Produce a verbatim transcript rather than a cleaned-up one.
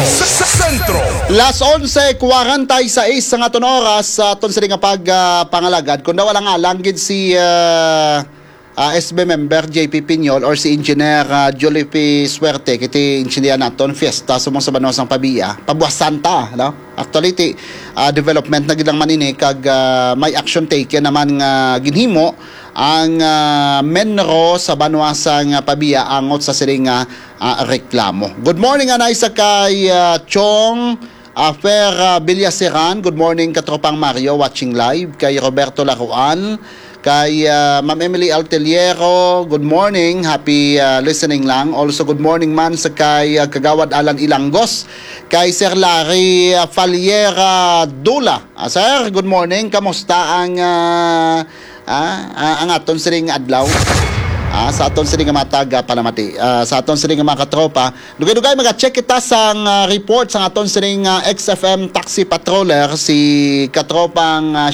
Sa Sentro. Las onse cuarenta y seis sa aton oras sa aton sini nga pag ah, pangalagad. Kung daw alang-alang gid si ah, ah, S B member J P Piñol or si Engineer ah, Jolliffe Suerte, kiti intindihan naton fiesta sumong sa banwa sang Pavia, pabuwasan ta, no? Actually, ti, ah, development na gid lang man ini kag ah, may action taken naman nga ginhimo ang ah, MENRO sa banwa sang Pavia angot sa sining nga ah, reklamo. Good morning, anay sa kay ah, Chong ah, Fer ah, Villaseran. Good morning, katropang Mario, watching live. Kay Roberto Laruan, kay ah, Ma'am Emily Alteliero, good morning, happy ah, listening lang. Also, good morning man sa kay ah, Kagawad Alan Ilangos, kay Sir Larry ah, Faliera Dula. Ah, sir, good morning. Kamusta ang ah, ah, ah, ang aton sining adlaw? Ah, sa aton sining nga matag ah, palamati. Ah, sa aton sining nga mga katropa, dugay-dugay mag-check kita sang ah, report sang aton sining ah, X F M taxi patroller, si katropang ah,